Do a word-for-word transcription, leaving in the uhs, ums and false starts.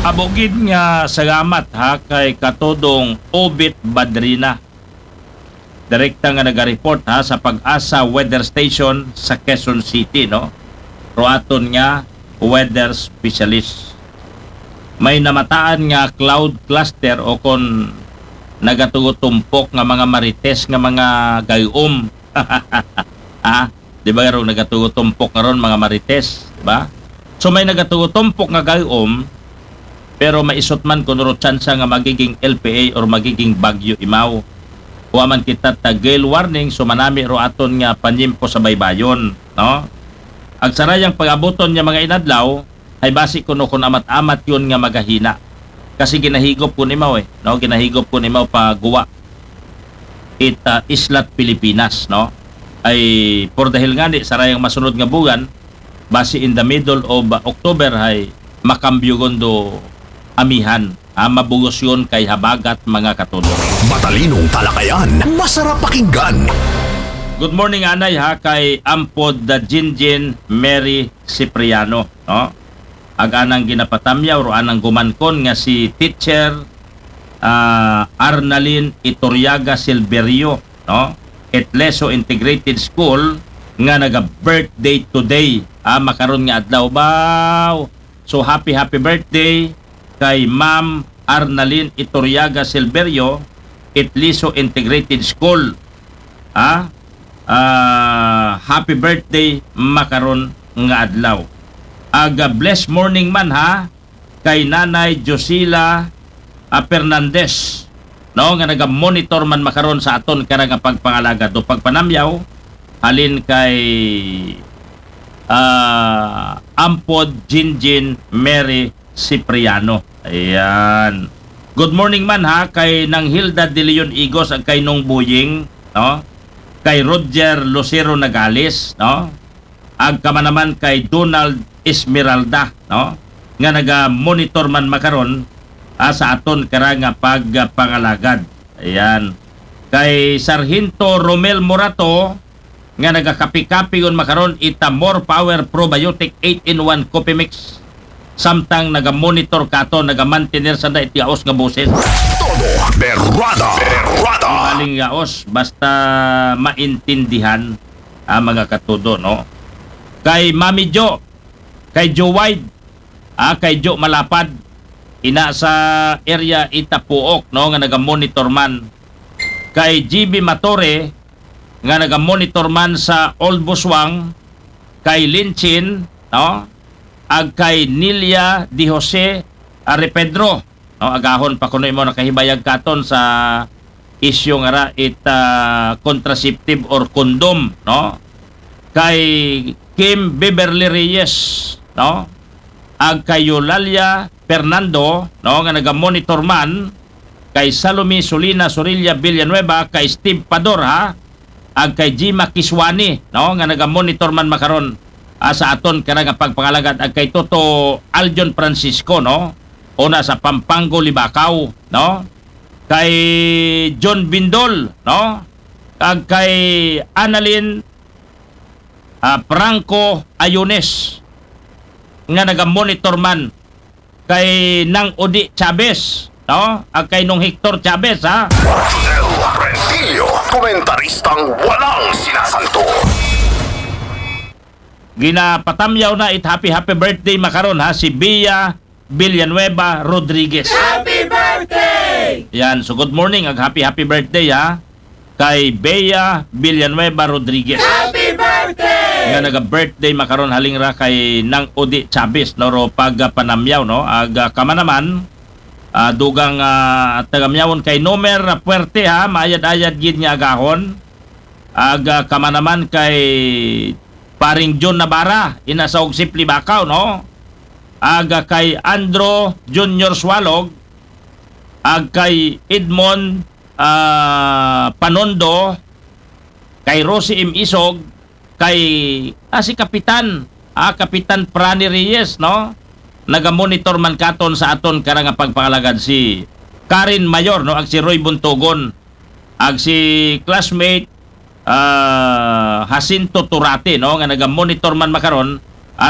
Amo gid nga salamat ha kay Katudong Obit Badrina. Direkta nga naga-report ha sa Pag-asa Weather Station sa Quezon City, no? Ro aton nga weather specialist. May namataan nga cloud cluster o kon nagatugutumpok nga mga marites nga mga gayom. Ha? Di ba, karong nagatugutumpok karon, mga marites, di ba? So, may nagatugutumpok nga gayom, pero maisot man kung ro tsansa nga magiging L P A or magiging bagyo imaw. Wa man kita ta gale warning, so manami ro aton nga panyimpo sa baybayon, no? Ag sarayang pag-abuton nga mga inadlaw, ay basi kuno kun amat-amat yun nga magahina. Kasi ginahigop kun imaw eh, no? Ginahigop kun imaw pa guwa it ah, Islat Pilipinas, no? Ay por dahil nga ni sarayang masunod nga buwan, basi in the middle of ah, October ay makambyo gundo amihan. Ah, mabugos yun kay habagat, mga Katudong. Matalinong talakayan, masarap pakinggan. Good morning, anay ha, kay Ampod da Jinjin Mary Cipriano, no? Ag anang ginapatamyaw ro anang gumankon nga si Teacher ah, Arnalyn Iturriaga Silverio, no? Itleso Integrated School nga naga-birthday today. Ah, makaron nga adlaw baw. So, happy, happy birthday kay Ma'am Arnalyn Iturriaga Silverio, Itliso Integrated School. Ha? Ah, happy birthday makaron nga adlaw. Aga blessed morning man ha kay Nanay Josila ah, Fernandez, no, nga naga-monitor man makaron sa aton karang nga pagpangalagad o pagpanamyaw halin kay ah, Ampod Jinjin Mary Cipriano. Ayan. Good morning man ha kay Nang Hilda De Leon Igos ag kay Nong Buying, no? Kay Roger Lucero Nagales, no? Ag kamanaman kay Donald Esmeralda, no? Nga naga-monitor man makaron ah, sa aton karang nga pagpangalagad. Ayan. Kay Sargento Romel Morato nga nagakapi-kapi yun makaron ita More Power Probiotic eight in one Coffee Mix. Samtang naga-monitor kato, naga-mantener sanda iti yaos nga boses. Todo berwada. Berwada. Aling yaos, basta maintindihan, ah, mga Katudo, no? Kay Mami Jo, kay Jo Wide, ah, kay Jo Malapad, ina sa area ita Puok, no, nga naga-monitor man. Kay G B Matore, nga naga-monitor man sa Old Buswang, kay Linchin, no? Ag kay Nilia Di Jose Arepedro, no? Agahon pa kuno imo nakahibayag katon sa isyu nga ra it ah, contraceptive or condom, no? Kay Kim Beverly Reyes, no? Ag kay Eulalia Fernando, no, nga naga-monitor man, kay Salome Solina Sorilla Villanueva, kay Steve Pador, ha? Ag kay Jima Kiswani, no, nga naga-monitor man makaron ah, sa aton karang nga pagpangalagad, ag kay Toto Aljon Francisco, no? Una sa Pampango, Libacao, no? Kay John Bindol, no? Ag kay Annalyn ah, Franco Ayunes nga naga-monitor man kay Nang Odi Chavez, no? Ag kay Nong Hector Chavez, ha? Rosel Rentillo, komentaristang walang sinasanto. Ginapatamyaw na it happy happy birthday makaron ha si Bea Villanueva Rodriguez. Happy birthday! Yan, so good morning ag happy happy birthday ha kay Bea Villanueva Rodriguez. Happy birthday! Nga naga-birthday makaron halingra kay Nang Odi Chavez, no, ro pagpanamyaw, no, ag ah, kamanaman ah, dugang ah, tagamyawon kay Nomer Puerte ha, maayad-ayad gid nga agahon. Ag ah, kamanaman kay Paring John Navarra, ina sa Ugsip Libacao, no? Ag ah, kay Andro Junior Sualog, ag kay Edmond ah, Panondo, kay Rosie M. Isog, kay ah, si Kapitan, ah, Kapitan Prani Reyes, no? Naga-monitor man katon sa aton karang nga pagpangalagad si Karen Mayor, no? Ag si Roy Buntogon, ag si classmate ah, Jacinto Turate, no, nga naga-monitor man makaron